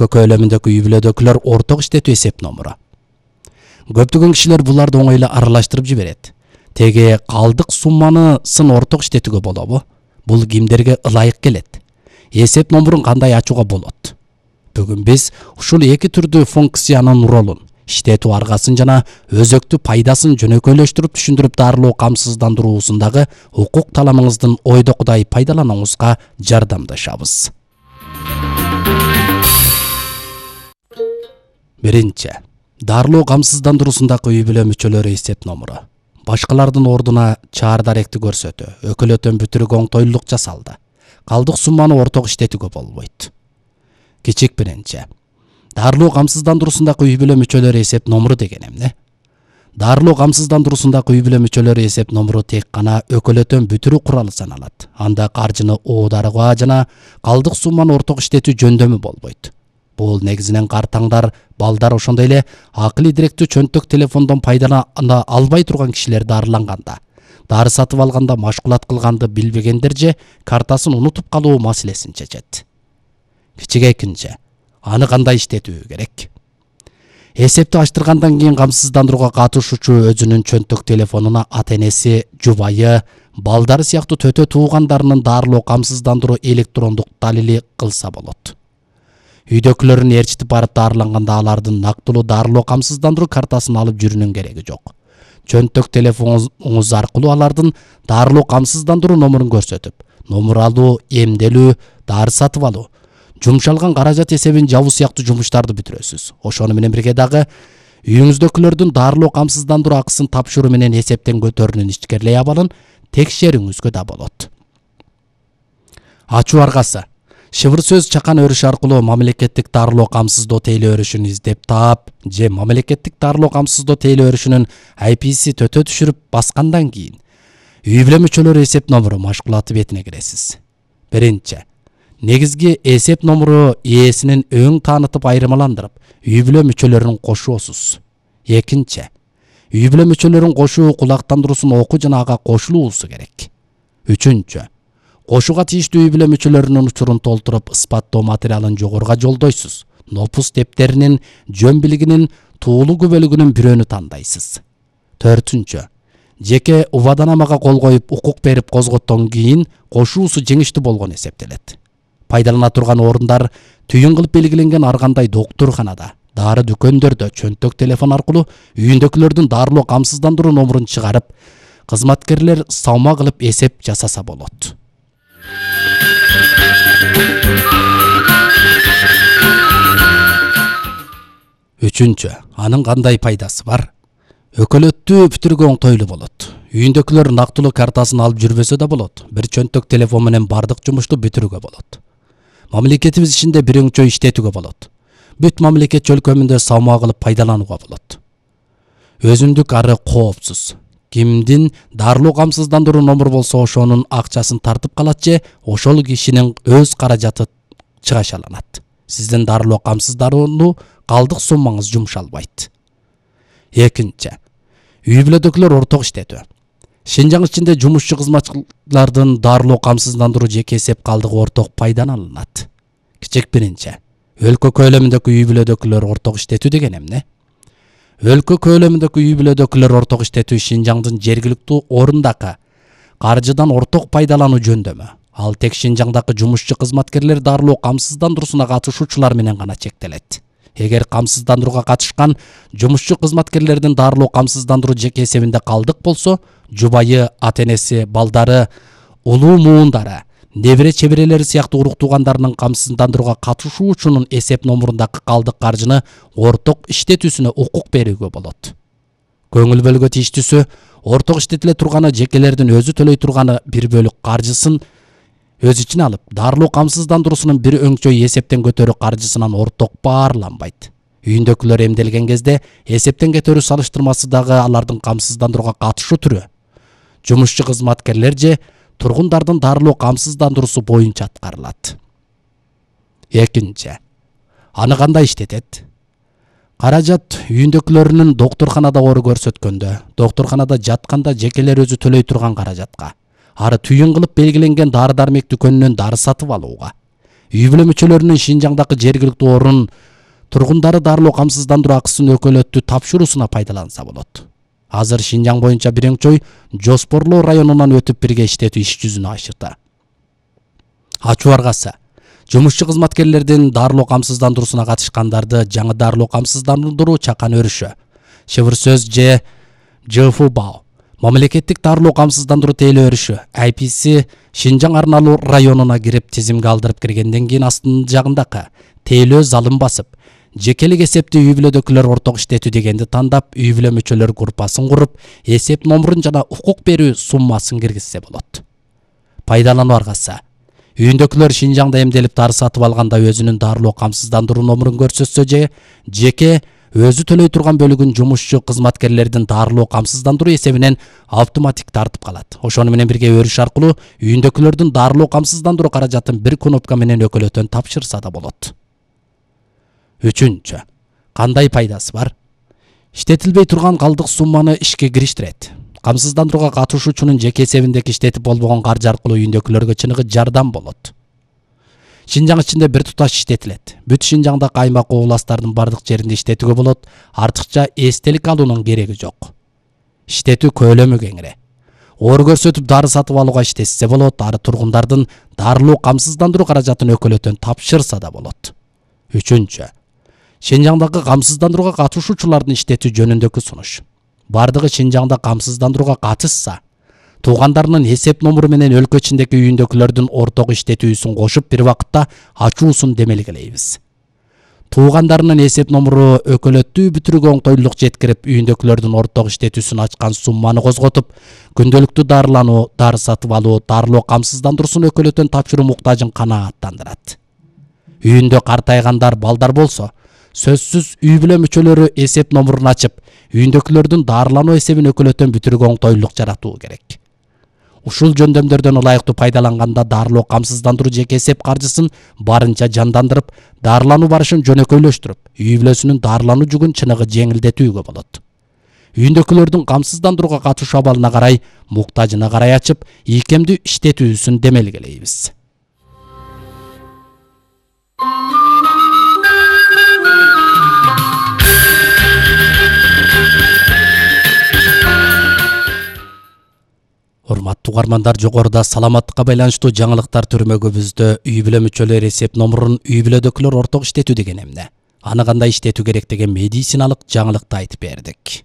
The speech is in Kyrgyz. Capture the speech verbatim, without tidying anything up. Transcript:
өлкө көлөмүндөгү үй бүлөдөгүлөр орток иштетүү эсеп номуру. Көптөгөн кишилер буларды оңой эле аралаштырып жиберет. Теге калдык сумманы сын орток иштетүүгө болобу? Бул кимдерге ылайык келет? Эсеп номурун кандай ачууга болот? Бүгүн биз ушул эки түрдүү функциянын ролун, иштетүү аргасын жана өзөктүү пайдасын жөнөкөйлөштүрүп түшүндүрүп дарылоо камсыздандыруусундагы укук таламыңыздын ойдокудай пайдаланууңузга жардамдашабыз. Биринчи. Дарылоо камсыздандыруусундагы үй бүлө мүчөлөрү эсеп номуру. Башкалардын ордуна чаар даректи көрсөтүү, өкөлөтөн бүтүрүүгө оңтойлуулук жасалды. Калдык сумманы орток иштетүүгө болбойт. Кичик биринчи. Дарылоо камсыздандыруусундагы үй бүлө мүчөлөрү эсеп номуру деген эмне? Дарылоо камсыздандыруусундагы үй бүлө мүчөлөрү эсеп номуру тек гана өкөлөтөн бүтүрүү куралы саналат. Анда каржыны оодарууга жана калдык сумманы орток иштетүү жөндөмү болбойт. Бул негизинен картаңдар, балдар, ошондой эле акылый директүү чөнтөк телефондон пайдалана албай турган кишилер дарыланганда, дары сатып алганда, машкулат кылганды билбегендер же картасын унутуп калуу маселесин чечет. Кичик экинчи. Аны кандай иштетүү керек? Эсепти ачтыргандан кийин камсыздандырууга катышуучу өзүнүн чөнтөк телефонуна ата-энеси, жубайы, балдары сыяктуу төтө туугандарынын дарылоо камсыздандыруу электрондук далили кылса болот. Үйдөкүлөрүн ээрчитип барып дарыланганда алардын нактылуу дарылоо камсыздандыруу картасын алып жүрүүнүн кереги жок. Чөнтөк телефонуңуз аркылуу алардын дарылоо камсыздандыруу номурун көрсөтүп, номур алуу, эмделүү, дары сатып алуу, жумшалган каражат эсебин жабуу сыяктуу жумуштарды бүтүрөсүз. Ошону менен бирге дагы үйүңүздөгүлөрдүн дарылоо камсыздандыруу акысын тапшыруу менен эсептен көтөрүнүн ичкерлей абалын текшерүүңүзгө да болот. Ачуу аргасы. Шыбыр сөз чакан өрүш аркылуу мамлекеттик дарылоо камсыздоо тейлөө өрүшүн издеп таап же мамлекеттик дарылоо камсыздоо тейлөө өрүшүнүн ай пи-си төтө түшүрүп баскандан кийин үй бүлө мүчөлөрү эсеп номуру машгулаты бетине киресиз. Биринчи. Негизги эсеп номуру ээсинин өң таанытып айырмаландырып, үй бүлө мүчөлөрүн кошуосуз. Экинчи. Үй бүлө мүчөлөрүн кошуу кулактандыруусун окуу жана ага кошулуусу керек. Үчүнчү. Кошууга тийиштүү үй бүлө мүчөлөрүнүн учурун толтуруп, ысбаттоо материалын жогоруга жолдойсуз. Нопус дептеринин жөн билигинин туулуу күбөлүгүнүн бирөөнү тандайсыз. Төртүнчү. Жеке убаданамага кол коюп, укук берип козготтон кийин кошуусу жеңиштүү болгон эсептелет. Пайдалана турган орундар түйүн кылып белгиленген ар кандай доктурканада, дары дүкөндөрдө чөнтөк телефон аркылуу үйүндөгүлөрдүн дарылоо камсыздандыруу номурун чыгарып, кызматкерлер салма кылып эсеп жасаса болот. Үчүнчү. Анын кандай пайдасы бар? Өкөлөттү бүтүрүүгө оңтойлуу болот. Үйүндөгүлөр нактылуу картасын алып жүрбөсө да болот. Бир чөнтөк телефон менен бардык жумушту бүтүрүүгө болот. Мамлекетибиз ичинде бирөңчө иштетүүгө болот. Бүт мамлекет чөлкөмүндө салма кылып пайдаланууга болот. Өзүндүк ары коопсуз. Кимдин дарылоо камсыздандыруу номуру болсо ошонун акчасын тартып калат же ошол кишинин өз каражаты чыгашаланат. Сиздин дарылоо камсыздандыруу калдык суммаңыз жумшалбайт. Экинчи. Үй бүлөдөгүлөр орток иштетүү. Шинжаң ичинде жумушчу кызматчылардын дарылоо камсыздандыруу жеке эсеп калдыгы орток пайдаланылат. Кичик биринчи. Өлкө көлөмүндөгү үй бүлөдөгүлөр орток иштетүү деген эмне? Өлкө көлөмүндөгү үй бүлөдөгүлөр орток иштетүү Шинжаңдын жергиликтүү орундагы каржыдан орток пайдалануу жөндөмү. Ал тек Шинжаңдагы жумушчу кызматкерлер дарылоо камсыздандыруусуна катышуучулар менен гана чектелет. Эгер камсыздандырууга катышкан жумушчу кызматкерлердин дарылоо камсыздандыруу жеке эсебинде калдык болсо, жубайы, ата-энеси, балдары, улуу муундары, небере чеберелери сыяктуу урук туугандарынын камсыздандырууга катышуучунун эсеп номурундагы калдык каржыны орток иштетүүсүнө укук берүүгө болот. Көңүл бөлгө тийиштүүсү, орток иштетиле турганы жекелердин өзү төлөй турганы бир бөлүк каржысын өз ичине алып, дарылоо камсыздандыруусунун бир өңчөй эсептен көтөрүү каржысынан орток баарланбайт. Үйүндөгүлөр эмделген кезде эсептен кетөрүү салыштырмасы дагы алардын камсыздандырууга катышуу түрү. Жумушчу кызматкерлер же тургундардын дарылоо камсыздандыруусу боюнча аткарылат. Экинчи. Аны кандай иштетет? Каражат үйүндөгүлөрүнүн доктурканада оору көрсөткөндө, доктурканада жатканда жекелер өзү төлөй турган каражатка, ары түйүн кылып белгиленген дары дармек дүкөнүнөн дары сатып алууга, үй бүлө мүчөлөрүнүн Шинжаңдагы жергиликтүү орун тургундары дарылоо камсыздандыруу акысын өкөлөттү тапшыруусуна пайдаланса болот. Азыр Шинжаң боюнча биринчи Жоспорлоо районунан өтүп бирге иштетүү иш жүзүнө ашыкты. Ачуу аргасы жумушчу кызматкерлердин дарылоо камсыздандыруусуна катышкандарды жаңы дарылоо камсыздандыруу чакан өрүшү. Шыбыр сөз же ЖФБАО мамлекеттик дарылоо камсыздандыруу тейлөө өрүшү I P C Шинжаң арналуу районуна кирип тизимге алдырып киргенден кийин астын жагындагы тейлөө залын басып, жекелик эсепти үй бүлөдөгүлөр орток иштетүү дегенди тандап, үй бүлө мүчөлөр группасын куруп, эсеп номурун жана укук берүү суммасын киргизсе болот. Пайдалануу аргасы үйүндөгүлөр Шинжаңда эмделип дары сатып алганда өзүнүн дарылоо камсыздандыруу номурун көрсөтсө же жеке өзү төлөй турган бөлүгүн жумушчу кызматкерлердин дарылоо камсыздандыруу эсебинен автоматик тартып калат. Ошону менен бирге өрүш аркылуу үйүндөгүлөрдүн дарылоо камсыздандыруу каражатын бир кнопка менен өкөлөтөн тапшырса да болот. Үчүнчү, кандай пайдасы бар? Иштетилбей турган калдык сумманы ишке кириштирет. Камсыздандырууга катышуучунун жеке эсебиндеги иштетип болбогон каржы аркылуу үйүндөгүлөргө чыныгы жардам болот. Шинжаң ичинде бир туташ иштетилет. Бүт Шинжаңдагы аймак областардын бардык жеринде иштетүүгө болот. Артыкча эстелик алуунун кереги жок. Иштетүү көлөмү кеңири. Оор көрсөтүп дары сатып алууга иштетсе болот, ары тургундардын дарылоо камсыздандыруу каражатын өкөлөтөн тапшырса да болот. Үчүнчү, Шинжаңдагы камсыздандырууга катышуучулардын иштетүү жөнүндөгү сунуш. Бардыгы Шинжаңда камсыздандырууга катышса, туугандарынын эсеп номуру менен өлкө ичиндеги үйүндөгүлөрдүн орток иштетүүсүн кошуп бир убакытта ачуусун демелгелейбиз. Туугандарынын эсеп номуру өкөлөттүү бүтүрүүгө оңтойлуулук жеткирип, үйүндөгүлөрдүн орток иштетүүсүн ачкан сумманы козготуп, күндөлүктүү дарылануу, дары сатып алуу, дарылоо камсыздандыруусун өкөлөтөн тапшыруу муктажын канааттандырат. Үйүндө картайгандар, балдар болсо, сөзсүз үй бүлө мүчөлөрү эсеп номурун ачып, үйүндөгүлөрдүн дарылануу эсебин өкөлөтөн бүтүрүүгө оңтойлуулук жаратуу керек. Ушул жөндөмдөрдөн ылайыктуу пайдаланганда дарылоо камсыздандыруу жеке эсеп каржысын барынча жандандырып, дарылануу барышын жөнөкөйлөштүрүп, үй бүлөсүнүн дарылануу жүгүн чыныгы жеңилдетүүгө болот. Үйүндөгүлөрдүн камсыздандырууга катышуу абалына карай, муктажына карай ачып, ийкемдүү иштетүүсүн демелгелейбиз. Урматтуу угармандар, жогоруда саламаттыкка байланыштуу жаңылыктар түрмөгүбүздө үй бүлө мүчөлөр эсеп номурун үй бүлөдөгүлөр орток иштетүү деген эмне? Аны кандай иштетүү керек деген медициналык жаңылыкты айтып бердик.